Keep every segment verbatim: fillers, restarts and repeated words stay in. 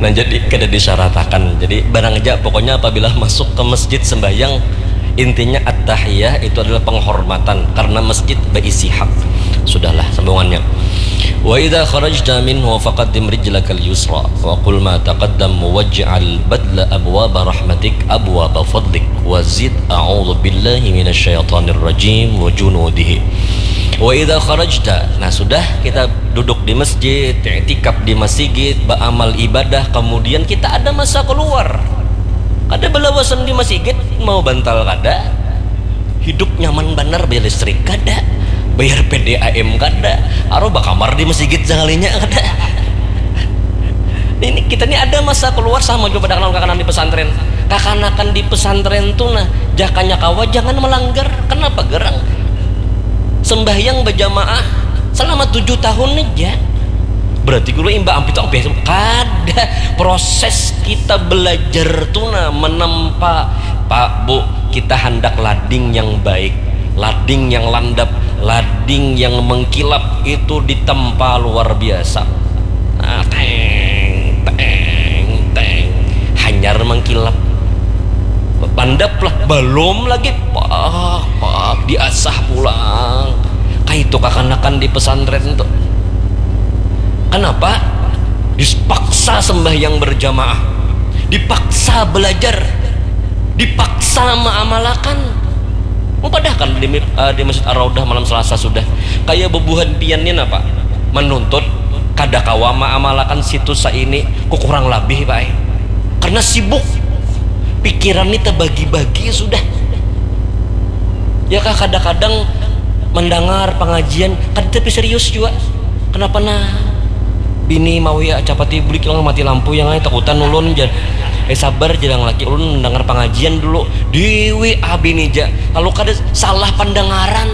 Nah, jadi kada disyaratakan. Jadi barang ja pokoknya apabila masuk ke masjid sembahyang, intinya at-tahiyah itu adalah penghormatan karena masjid berisi hak. Sudahlah sambungannya. Wa idza kharajta minhu faqaddim rijlakal yusra wa qul ma taqaddam waj'al badla abwaba rahmatik abwaba fadlik wa zid a'udzu billahi minasyaitonir rajim wa junudihi. Wa idza kharajta, nah sudah kita duduk di masjid, iktikaf di masigit, beramal ibadah, kemudian kita ada masa keluar. Kada balawasan di masigit, mau bantal kada, hidup nyaman banar, bayar listrik kada, bayar P D A M kada, aruh bakamar di masigit sakalinya kada. Ini kita ni ada masa keluar sama juga pada kanakan di pesantren. Kakanakan di pesantren tu nah, jakanya kawa jangan melanggar. Kenapa gerang? Sembahyang berjamaah selama tujuh tahun aja. Berarti guru imba ampi tu ampi kada. Proses kita belajar tu nah menempa, Pak, Bu, kita hendak lading yang baik, lading yang landap, lading yang mengkilap itu ditempa luar biasa. Nah, teng teng teng, hanyar mengkilap. Landap lah, belum lagi, pak pak diasah pulang. Kaitu kakanakan di pesantren tuh. Kenapa? Dipaksa sembahyang berjamaah, dipaksa belajar, dipaksa mengamalkan. Padahkan di, uh, di Masjid Ar-Raudah malam Selasa sudah. Kayak bebuhan pian ni napa? Menuntut kada kawa mengamalkan situs ini ku kurang lebih, Pak. Karena sibuk. Pikiran ni terbagi-bagi sudah. Ya kah, kadang-kadang mendengar pengajian, kada tapi serius juga. Kenapa nah? Bini mau ya capati bulik yang mati lampu yang ai takutan ulun jar. Eh sabar jar yang laki ulun mendengar pengajian dulu. Dewi abi ni ja. Lalu kada salah pendengaran.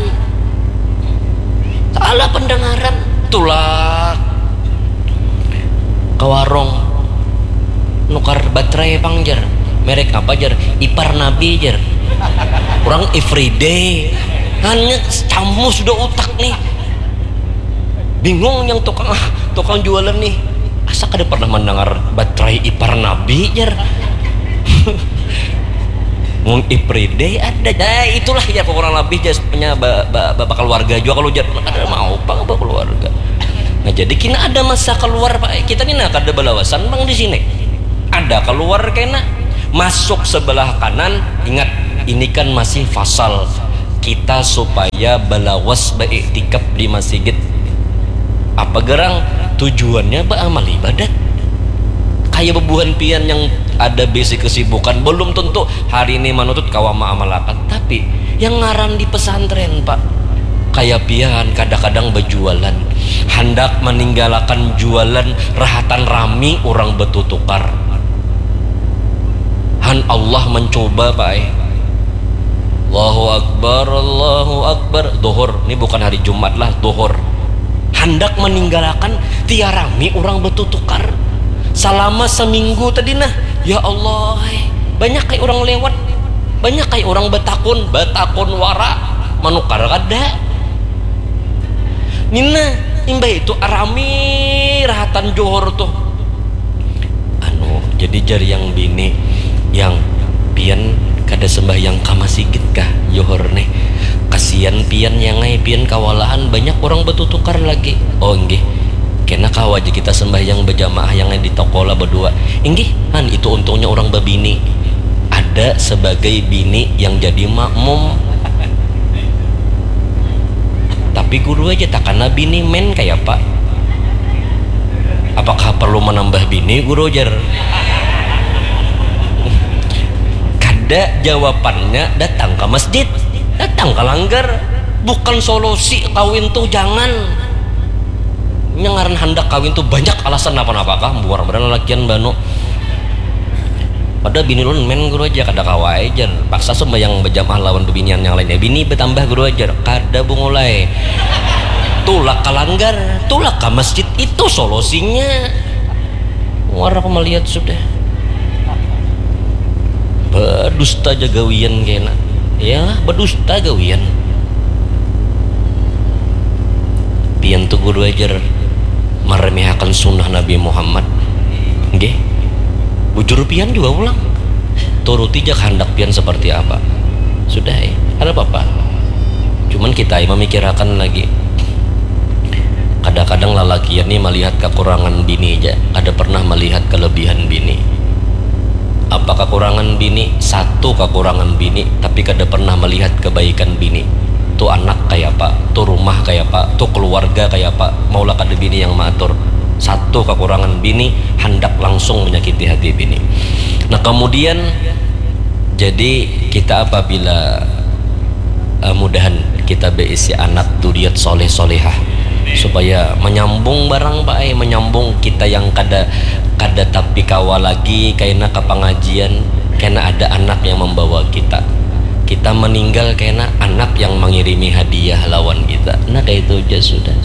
Salah pendengaran. Tulak ke warung nukar baterai pang jar. Merek apa jar? Ipar Nabi jar. Orang everyday. Hanya camu sudah utak nih. Bingung yang tukang ah, tukang jualan nih. Asa kada pernah mendengar baterai ipar Nabi jar. Mun everyday ada. Nah, itulah ya kurang lebih jar punya ba, ba, bapak keluarga juga kalau jar ada mau apa bapak keluarga. Nah, jadi kena ada masa keluar Pak. Kita ni nah kada balawasan bang di sini. Ada keluar kena masuk sebelah kanan. Ingat, ini kan masih fasal kita supaya balawas beiktikaf di masigit. Apa gerang? Tujuannya beramal ibadat. Kayak bebuhan pian yang ada bisi kesibukan, belum tentu hari ini manutut kawa maamalakan. Tapi yang ngaran di pesantren, Pak, kayak pian kadang-kadang berjualan, hendak meninggalkan jualan rahatan rami orang bertutukar. Han Allah mencoba, Pak, eh. Allahu Akbar, Allahu Akbar. Duhur, ini bukan hari Jumat lah, duhur. Hendak meninggalkan tiarami orang bertutukar. Selama seminggu tadi nah, ya Allah, eh, banyak kayak orang lewat, banyak kayak orang betakun, betakun wara, manukar kada. Nina, imbah itu arami rahatan johor tuh. Anu, jadi jar yang bini, yang pian kada sembahyang ka masigit kah johor nih? Kasian pian yang ai, pian kawalahan, banyak orang betutukar lagi. Oh nggih, kena kawa aja kita sembahyang berjamaah yang ai di toko lah berdua. Inggih, han itu untungnya orang bebini. Ada sebagai bini yang jadi makmum. Tapi guru aja takana bini men kaya apa? Apakah perlu menambah bini guru jar? Kada, jawabannya datang ke masjid, datang ke langgar. Bukan solusi kawin tuh jangan. Nya ngaran handak kawin tuh banyak alasan napa-napa kah, buar badan lalakian banu. Pada bini ulun men guru aja kada kawa ai jar. Paksa sembahyang berjamaah lawan bebinian yang lainnya. Bini bertambah guru aja kada bungulai. Tulak ke langgar, tulak ke masjid itu solusinya. Muar aku melihat sudah. Berdusta aja gawian kena. Ya, berdusta gawian. Pian tuh guru ajar meremehakan sunnah Nabi Muhammad. Nggih. Bujur pian jua pulang. Turuti ja kahandak pian seperti apa. Sudah ai, kada papa. Cuman kita ai mamikirakan lagi. Kadang-kadang lalakian ni malihat kakurangan bini ja, kada pernah malihat kelebihan bini. Apa kakurangan bini? Satu kakurangan bini, tapi kada pernah malihat kebaikan bini. Tu anak kayapa, tu rumah kayapa, tu keluarga kayapa, maulah kada bini yang maatur. Satu kakurangan bini, handak langsung menyakiti hati bini. Nah, kemudian, jadi kita apabila, eh, mudahan kita beisi anak duriat soleh solehah, supaya menyambung barang, Pak, eh, menyambung kita yang kada, kada tapi kawa lagi, kaina ka pengajian, kena ada anak yang membawa kita. Kita meninggal, kena anak yang mengirimi hadiah lawan kita. Nah, kayak itu aja sudah.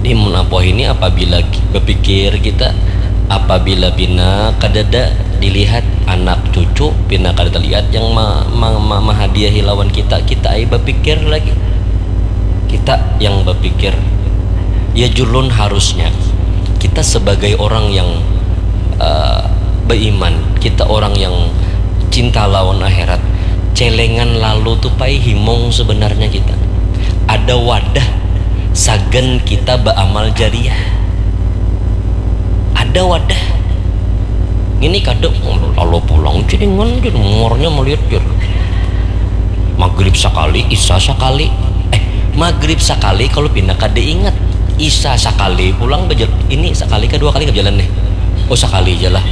Jadi, mun apa ini, apabila ki-, berpikir kita, apabila pina kadada dilihat anak cucu, pina kada terlihat yang ma-, ma-, ma-, mahadiahi lawan kita, kita ai berpikir lagi. Kita yang berpikir. Ya, julun harusnya kita sebagai orang yang, eh, beriman, kita orang yang cinta lawan akhirat, celengan lalu tu pai himung sebenarnya kita. Ada wadah sagan kita beramal jariah. Ada wadah. Ini kada, lalu pulang celengan, jar, umurnya melihat, jar. Maghrib sakali, isya sakali. Eh, maghrib sakali kalau pina kada ingat. Isya sakali pulang bejal-, ini sakali kah dua kali kah bejalan nih? Oh, sakali aja lah.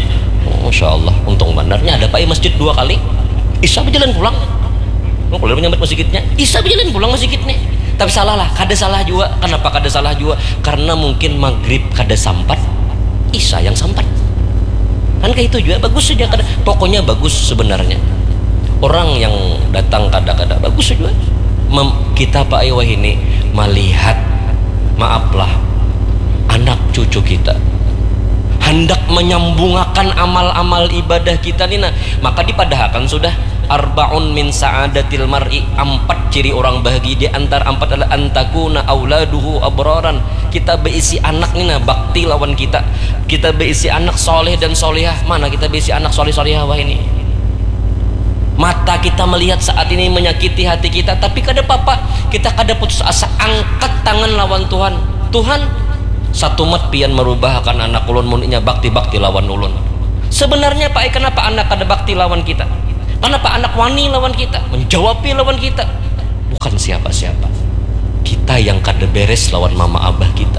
Oh, masya Allah, untung bandarnya ada, Pak, ya, masjid dua kali. Isya bejalan pulang. Oh, kalau menyambat masjidnya, isya bejalan pulang masjidnya. Tapi salah lah, kada salah juga. Kenapa kada salah juga? Karena mungkin maghrib kada sampat, isya yang sampat. Kan kayak itu juga, bagus saja kada. Pokoknya bagus sebenarnya. Orang yang datang kada-kada, bagus saja. Mem-, kita, Pak, ai wahini melihat, maaflah, anak cucu kita hendak menyambungakan amal-amal ibadah kita ni, nah, maka dipadahakan sudah, "Arbaun min sa'adatil mar'i," ampat ciri orang bahagia, di antara ampat adalah, "Antakuna auladuhu abraran," kita beisi anak ni, nah, bakti lawan kita, kita beisi anak soleh dan solihah. Mana kita beisi anak soleh solihah wahini? Mata kita melihat saat ini menyakiti hati kita, tapi kada papa, kita kada putus asa, angkat tangan lawan Tuhan. Tuhan, satumat pian merubahakan anak ulun mun inya bakti-bakti lawan ulun. Sebenarnya, Pak, ai, kenapa anak kada bakti lawan kita? Kenapa anak wani lawan kita? Menjawabi lawan kita. Bukan siapa-siapa. Kita yang kada beres lawan mama abah kita.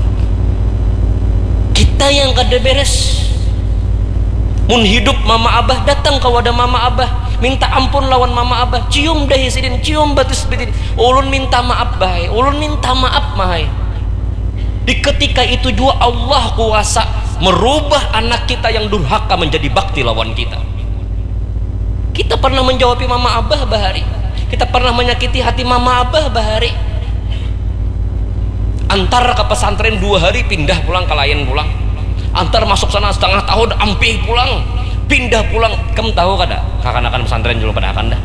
Kita yang kada beres. Mun hidup mama abah, datang ka wadah mama abah, minta ampun lawan mama abah, cium dahi sidin, cium batis sidin. "Ulun minta maaf, bah ai. Ulun minta maaf, mah ai." Di ketika itu jua Allah kuasa merubah anak kita yang durhaka menjadi bakti lawan kita. Kita pernah menjawabi mama abah bahari. Kita pernah menyakiti hati mama abah bahari. Antar ke pesantren dua hari, pindah pulang ke lain pulang. Antar masuk sana setengah tahun, ampih pulang. Pindah pulang. Ikam tahu kada? Kakanakan pesantren julung padahakan dah.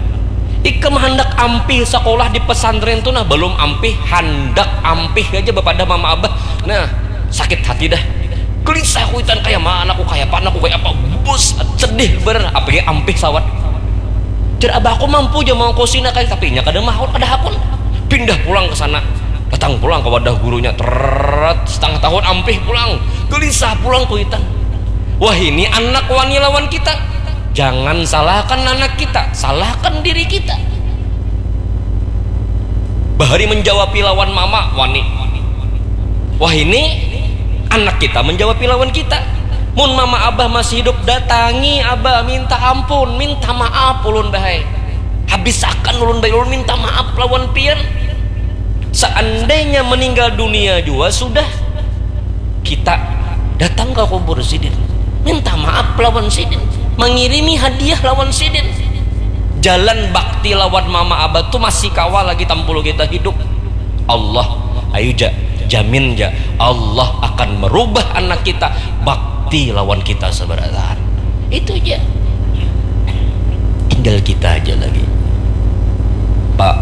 Ikam handak ampih sekolah di pesantren tu nah, belum ampih, handak ampih aja bapadah mama abah. Nah, sakit hati dah. Gelisah kuitan, kaya mana aku, kaya apa anakku, kaya apa, bus, sedih ber, apalagi ampih sawat. Jar abah, aku mampu ja mangkosina kali, tapi inya kada mahut, kada hakun. Pindah pulang ke sana, datang pulang ke wadah gurunya, teret, setengah tahun ampih pulang, gelisah pulang kuitan. Wah, ini anak wani lawan kita. Jangan salahkan anak kita, salahkan diri kita. Bahari menjawabi lawan mama, wani. Wah, ini anak kita menjawabi lawan kita. Mun mama abah masih hidup, datangi abah, minta ampun, minta maaf ulun, bah ai. Habisakan ulun, bah ai, ulun minta maaf lawan pian. Seandainya meninggal dunia jua sudah, kita datang ke kubur sidin, minta maaf lawan sidin, mengirimi hadiah lawan sidin. Jalan bakti lawan mama abah tu masih kawa lagi tampul kita hidup. Allah, ayu ja, jamin ja, Allah akan merubah anak kita bakti lawan kita sabarataan. Itu ja. Tinggal kita aja lagi. Pak,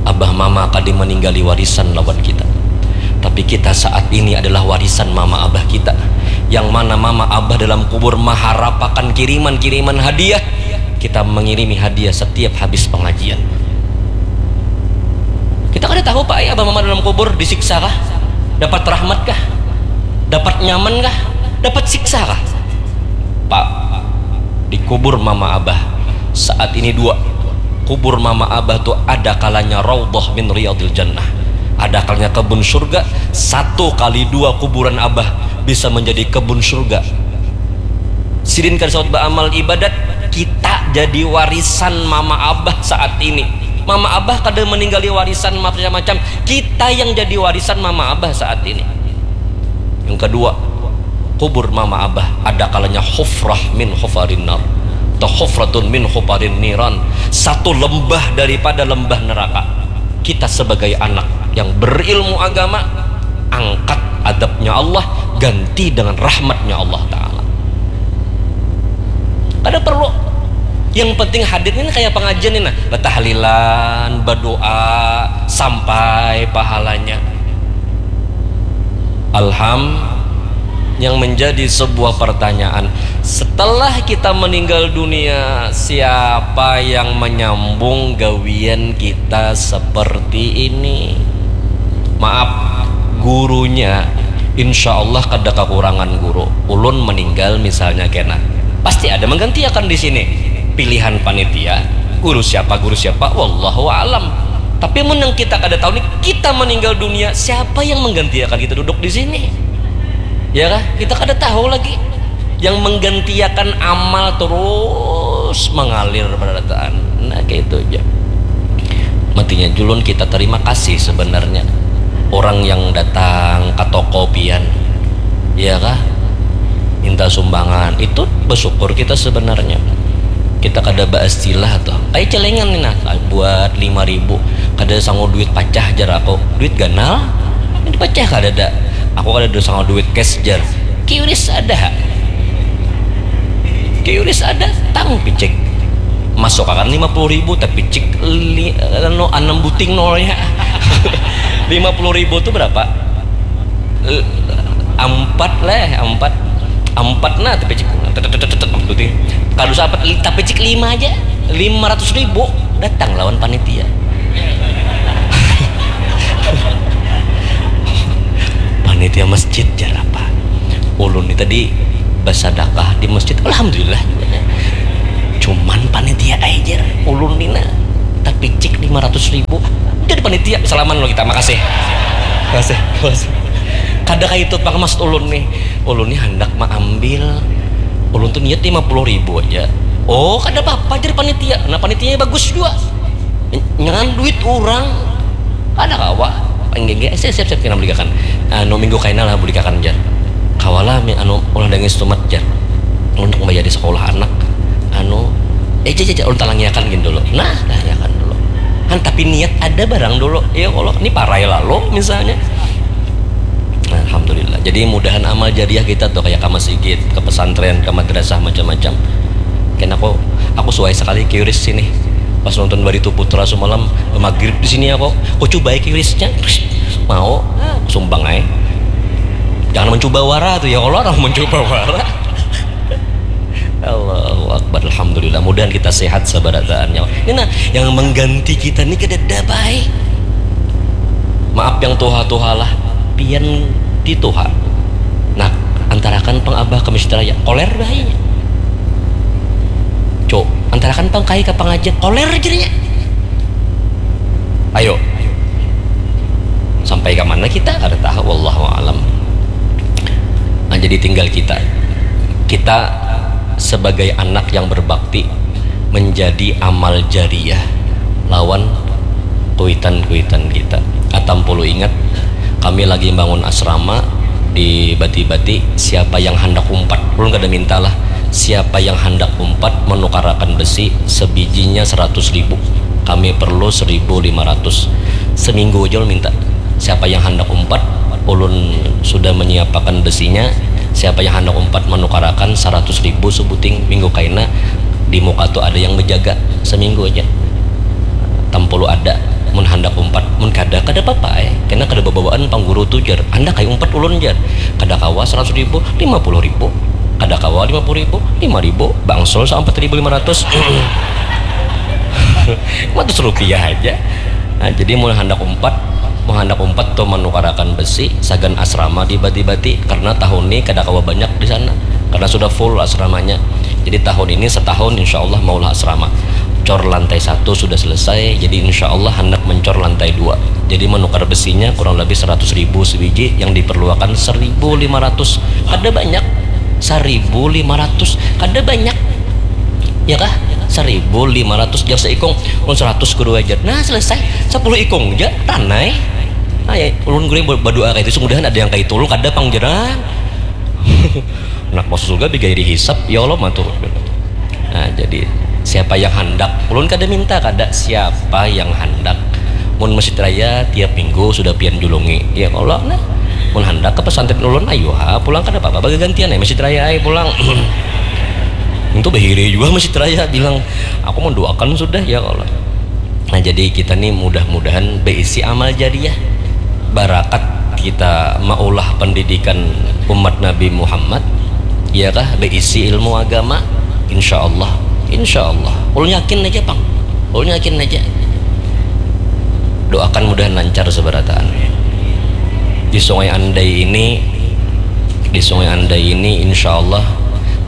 abah mama kada meninggali warisan lawan kita. Tapi kita saat ini adalah warisan mama abah kita. Yang mana mama abah dalam kubur maharapakan kiriman-kiriman hadiah, kita mengirimi hadiah setiap habis pengajian. Kita kada tahu, Pak, ya, abah mama dalam kubur disiksa kah? Dapat rahmat kah? Dapat nyaman kah? Dapat siksa kah? Pak, di kubur mama abah saat ini dua. Kubur mama abah tu ada kalanya raudhah min riyadil jannah, ada kalanya kebun surga. Satu kali dua kuburan abah bisa menjadi kebun surga. Sidin kada saut baamal ibadat, kita jadi warisan mama abah saat ini. Mama abah kada meninggali warisan macam-macam, kita yang jadi warisan mama abah saat ini. Yang kedua, kubur mama abah ada kalanya hufrah min hufarin nar, atau hufratun min hufarin niran, satu lembah daripada lembah neraka. Kita sebagai anak yang berilmu agama, angkat adabnya Allah, ganti dengan rahmatnya Allah Ta'ala. Kada perlu. Yang penting hadir ini kayak pengajian ini, nah, bertahlilan, berdoa, sampai pahalanya. Alham, yang menjadi sebuah pertanyaan, setelah kita meninggal dunia, siapa yang menyambung gawian kita seperti ini? Maaf, gurunya insya Allah kada kekurangan guru. Ulun meninggal misalnya kena, pasti ada menggantiakan di sini. Pilihan panitia, guru siapa, guru siapa, wallahu alam. Tapi mun yang kita kada tahu nih, kita meninggal dunia, siapa yang menggantiakan kita duduk di sini? Ya kah? Kita kada tahu lagi. Yang menggantiakan amal terus mengalir berataan. Nah, kayak itu aja. Matinya julun kita terima kasih sebenarnya. Orang yang datang ke toko pian, ya kah? Minta sumbangan, itu bersyukur kita sebenarnya. Kita kada baistilah tuh. Kayak celengan nih, nah, buat lima ribu. Kada sanggup duit pacah, jar aku. Duit ganal? Ini pacah kada ada. Aku kada ada sanggup duit cash, jar. Kiuris ada. Kiuris ada, tang picik. Masuk akan lima puluh ribu, tapi cik li, anu, enam buting nolnya. Lima puluh ribu tuh berapa? Eh, empat lah, empat. Empat nah, tapi cik. Kada usah empat, tapi cik lima aja. Lima ratus ribu datang lawan panitia. Panitia masjid, jar apa? Ulun ni tadi basadakah di masjid, alhamdulillah juga. Cuman panitia ai, jar. Ulun ni nah, tapi cik lima ratus ribu. Jadi panitia, salaman lo kita, makasih. Makasih, makasih. Kada kayak itu pang maksud ulun nih. Ulun nih hendak maambil. Ulun tuh niat lima puluh ribu aja. Oh, kada apa-apa, jar panitia. Nah, panitianya bagus juga. Nyangan duit orang. Kada kawa. Enggak, enggak, siap, siap, siap, kena belikan. Anu, minggu kaina lah belikan, jar. Kawa lah, mi-, anu, ulah dangis tumat, jar. Untuk membayar di sekolah anak. Anu, eh, jar, jar, jar, ulun talangiakan gini dulu. Nah, talangiakan dulu. Kan, tapi niat ada barang dulu. Ya Allah, ini parai lalu, misalnya. Nah, alhamdulillah. Jadi, mudahan amal jariah kita tuh, kayak ke masjid, ke pesantren, ke madrasah, macam-macam. Kena aku, aku suai sekali kiuris sini. Pas nonton Barito Putra semalam, maghrib di sini aku. Aku coba kiurisnya. Mau, sumbang aja. Jangan mencoba wara tuh, ya Allah, orang mencoba wara. Allahu Akbar, alhamdulillah. Mudahan kita sehat sabarataannya. Ini nah, yang mengganti kita ni kadada baik. Maaf yang tuha-tuha lah, pian di tuha. Nah, antarakan pang abah ke masjid raya, koler bahayanya. Cuk, antarakan pang kai ke pengajian, koler jadinya. Ayo. Sampai ke mana kita? Kada tahu, wallahu alam. Nah, jadi tinggal kita. Kita sebagai anak yang berbakti menjadi amal jariah lawan kuitan-kuitan kita. Atam pulu ingat, kami lagi bangun asrama di Bati-Bati, siapa yang handak umpat, ulun kada minta lah, siapa yang handak umpat menukarakan besi sebijinya seratus ribu, kami perlu seribu lima ratus. Seminggu aja ulun minta. Siapa yang handak umpat, ulun sudah menyiapakan besinya. Siapa yang handak umpat menukarakan seratus ribu sebuting, minggu kaina di muka tu ada yang menjaga seminggu aja. Tampulu ada. Mun handak umpat, mun kada, kada papa ai. Kena kada babawaan pang guru tu, jar. Handak ai umpat ulun, jar. Kada kawa saratus ribu, lima puluh ribu. Kada kawa lima puluh ribu, lima ribu. Bangsul sa umpat ribu lima ratus. Lima ratus rupiah haja. Nah, jadi mun handak umpat, mun handak umpat tu manukarakan besi, sagan asrama dibati-bati, karena tahun ni kada kawa banyak di sana, karena sudah full asramanya. Jadi tahun ini setahun insya Allah maulah asrama. Cor lantai satu sudah selesai, jadi insya Allah handak mencor lantai dua. Jadi menukar besinya kurang lebih seratus ribu sebiji, yang diperluakan seribu lima ratus. Kada banyak. Seribu lima ratus. Kada banyak. Ya kah? Seribu lima ratus, jar seikung. Ulun seratus kudu ajar. Nah, selesai. Sepuluh ikung ja, ranai. Nah, ya, ulun gurih berdoa kayak itu, semudahan ada yang kayak itu. Ulun kada pang, jarang. Anak masuk surga bigairi hisap, ya Allah, matur. Nah, jadi siapa yang handak, ulun kada minta, kada, siapa yang handak. Mun masjid raya tiap minggu sudah pian julungi, ya Allah, nah. Mun handak ke pesantren ulun, ayo ha, pulang, kada apa-apa, bagagantian ya, masjid raya ai pulang. Itu bahiri juga masjid raya bilang, aku mendoakan sudah, ya Allah. Nah, jadi kita nih mudah-mudahan berisi amal jariah, barakat kita maulah pendidikan umat Nabi Muhammad, ya kah, berisi ilmu agama, insya Allah, insya Allah. Ulun yakin aja, pang, ulun yakin aja. Doakan mudahan lancar seberataan. Di Sungai Andai ini, di Sungai Andai ini, insya Allah,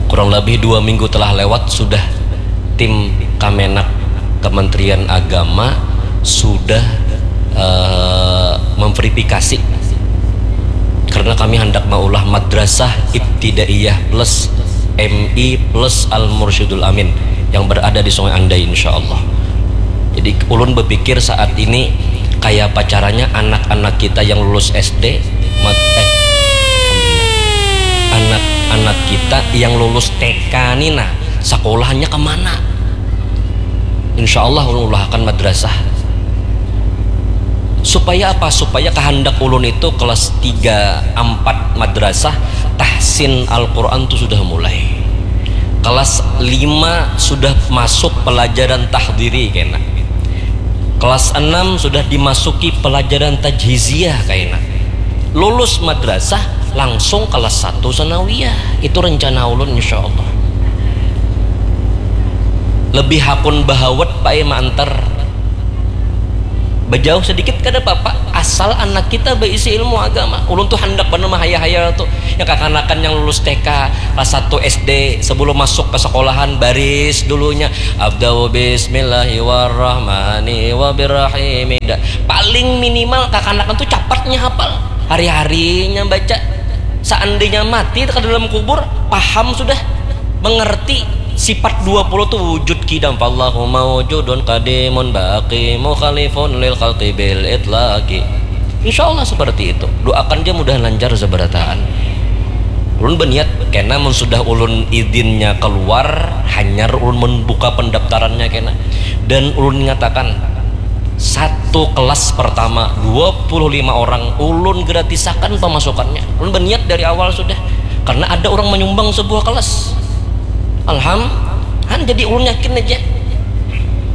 kurang lebih dua minggu telah lewat, sudah tim Kamenag, Kementerian Agama, sudah eh, memverifikasi, karena kami hendak maulah madrasah ibtidaiyah plus M I plus Al Mursyidul Amin yang berada di Sungai Andai, insya Allah. Jadi ulun berpikir saat ini, kayak apa caranya anak-anak kita yang lulus S D, mat, eh, anak-anak kita yang lulus T K nih, nah, sekolahnya kemana? Insya Allah ulun ulahakan madrasah. Supaya apa? Supaya kehendak ulun itu kelas tiga, empat madrasah tahsin Al-Quran tu sudah mulai. Kelas lima sudah masuk pelajaran tahdiri kena. Kelas enam sudah dimasuki pelajaran tajhiziyah kena. Lulus madrasah langsung kelas satu sanawiyah. Itu rencana ulun, insya Allah. Lebih hakun bahawat, Pak, ya, maantar. Bejauh sedikit kada apa-apa, asal anak kita berisi ilmu agama. Ulun tuh handak banar mahayal-hayal tuh. Yang kakanakan yang lulus T K, kelas satu S D, sebelum masuk ke sekolahan, baris dulunya. Abda'u bismillahi warrahmani wabirrahimi. Da-, paling minimal kakanakan tuh capatnya hafal. Hari-harinya baca. Seandainya mati ke dalam kubur, paham sudah, mengerti sifat dua puluh tu wujud kidam. Fallahu maujudun qadimun baqi mukhalifun lil khalqi bil itlaqi. Insya Allah seperti itu. Doakan aja mudahan lancar seberataan. Ulun berniat, kena mun sudah ulun idinnya keluar, hanyar ulun membuka pendaftarannya kena. Dan ulun nyatakan, satu kelas pertama dua puluh lima orang, ulun gratisakan pemasukannya. Ulun berniat dari awal sudah. Karena ada orang menyumbang sebuah kelas. Alham, han, jadi ulun yakin aja.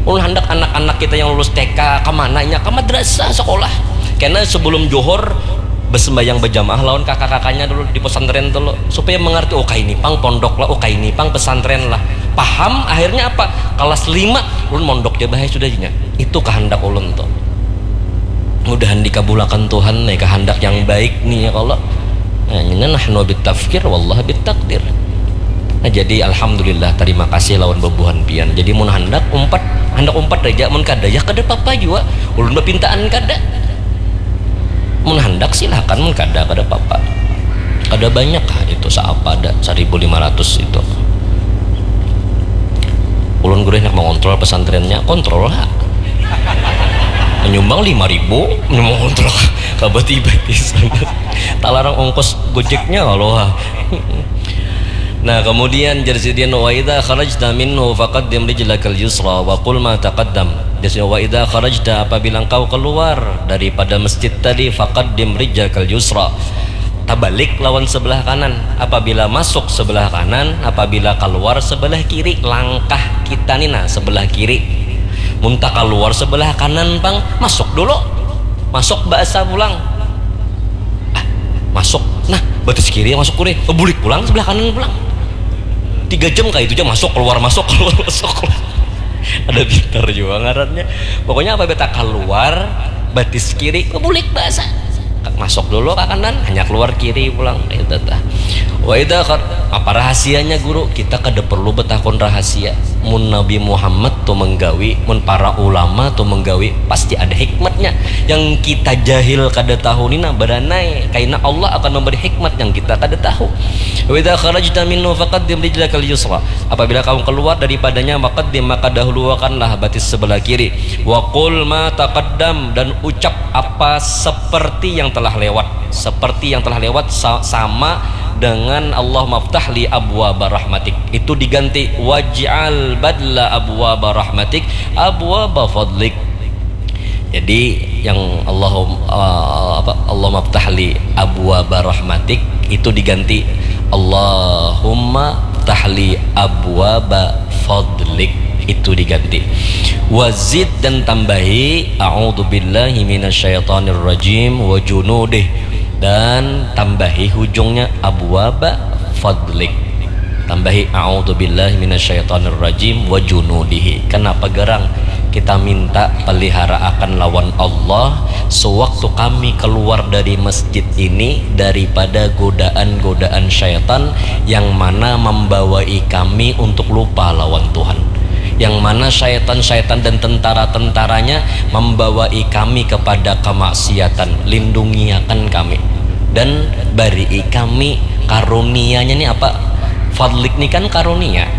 Ulun handak anak-anak kita yang lulus T K, ke mana nya? Ke madrasah, sekolah. Karena sebelum Johor, bersembahyang berjamaah lawan kakak-kakaknya dulu di pesantren dulu. Supaya mengerti, oh, kaini pang pondok lah, oh, kaini pang pesantren lah. Paham, akhirnya apa? Kelas lima, ulun mondok ja bahaya sudah jinya. Itu kehendak ulun tuh. Mudahan dikabulakan Tuhan nih, kehendak yang baik nih ya Allah. Nah, ini nahnu bitafkir, wallah bitakdir. Nah, jadi alhamdulillah, terima kasih lawan bebuhan pian. Jadi mun handak umpat, handak umpat aja, mun kada ya kada papa jua. Ulun bapintaan kada. Mun handak silahkan, mun kada kada papa. Kada banyak lah itu, saapa ada seribu lima ratus itu. Ulun gurih nak mengontrol pesantrennya, kontrol ha. Menyumbang lima ribu, mengontrol kabati-bati sana. Talarang ongkos gojeknya kalau ha. Nah, kemudian jar sidin, wa idza kharajta minhu faqaddim rijlakal yusra wa qul ma taqaddam. Jar sidin, wa idza kharajta, apabila engkau keluar daripada masjid tadi, faqaddim rijlakal yusra. Tabalik lawan sebelah kanan. Apabila masuk sebelah kanan, apabila keluar sebelah kiri, langkah kita ni nah sebelah kiri. Mun takaluar sebelah kanan pang, masuk dulu. Masuk baasa pulang. Ah, masuk. Nah, batis kiri masuk kuri. Bulik pulang sebelah kanan pulang. Tiga jam kayak itu aja, masuk keluar masuk keluar masuk keluar. Ada pintar juga ngarannya. Pokoknya apa beta keluar, batis kiri, bulik baasa. Masuk dulu ke kanan, hanya keluar kiri pulang. Itu tah. Wa idza khar-, apa rahasianya, Guru? Kita kada perlu betakun rahasia. Mun Nabi Muhammad tu menggawi, mun para ulama tu menggawi, pasti ada hikmatnya. Yang kita jahil kada tahu ni nah, baranai kaina Allah akan memberi hikmat yang kita kada tahu. Wa idza kharajta minhu faqaddim rijlakal yusra. Apabila kamu keluar daripadanya, faqaddim, maka dahuluakanlah batis sebelah kiri. Wa qul ma taqaddam, dan ucap apa seperti yang telah lewat. Seperti yang telah lewat sa-, sama dengan Allahumma ftah li abwaba rahmatik. Itu diganti waj'al badla abwaba rahmatik abwaba fadlik. Jadi yang Allahum-, eh, apa, Allahumma ftah li abwaba rahmatik itu diganti Allahumma ftah li abwaba fadlik, itu diganti. Wazid, dan tambahi a'udzubillahi minasyaitonirrajim wa junudih, dan tambahi hujungnya abwaba fadlik. Tambahi a'udzubillahi minasyaitonirrajim wa junudihi. Kenapa garang kita minta pelihara akan lawan Allah sewaktu kami keluar dari masjid ini daripada godaan-godaan syaitan yang mana membawai kami untuk lupa lawan Tuhan, yang mana syaitan-syaitan dan tentara-tentaranya membawai kami kepada kemaksiatan. Lindungiakan kami dan barii kami karunianya ni apa? Fadlik ni kan karunia.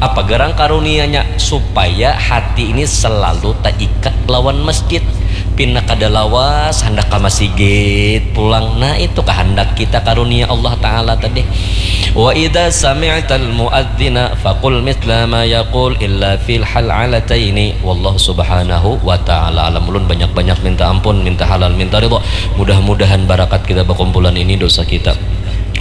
Apa garang karunianya? Supaya hati ini selalu taikat lawan masjid. Pina kada lawas handak ka masigit pulang. Nah, itu kahandak kita karunia Allah Ta'ala tadi. Wa idza sami'tal muadzina faqul mithla ma yaqul illa fil hal'alataini. Wallahu subhanahu wa ta'ala alam. Ulun banyak-banyak minta ampun, minta halal, minta ridha. Mudah-mudahan barakat kita bakumpulan ini, dosa kita,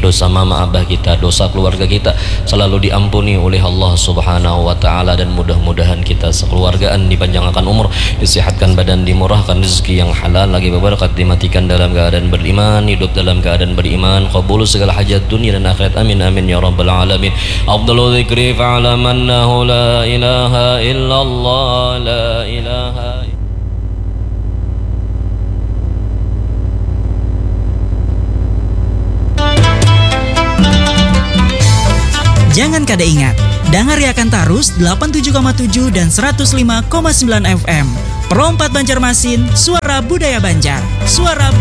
dosa mama abah kita, dosa keluarga kita selalu diampuni oleh Allah Subhanahu wa Ta'ala, dan mudah-mudahan kita sekeluargaan dipanjangkan umur, disehatkan badan, dimurahkan rezeki yang halal lagi berberkat, dimatikan dalam keadaan beriman, hidup dalam keadaan beriman, kabul segala hajat dunia dan akhirat. Amin amin ya rabbal alamin. Afdalu dzikri fa'lam annahu la ilaha illallah, la ilaha Jangan kada ingat, dangariakan tarus delapan tujuh koma tujuh dan seratus lima koma sembilan F M. Pro empat Banjarmasin, suara budaya Banjar. Suara budaya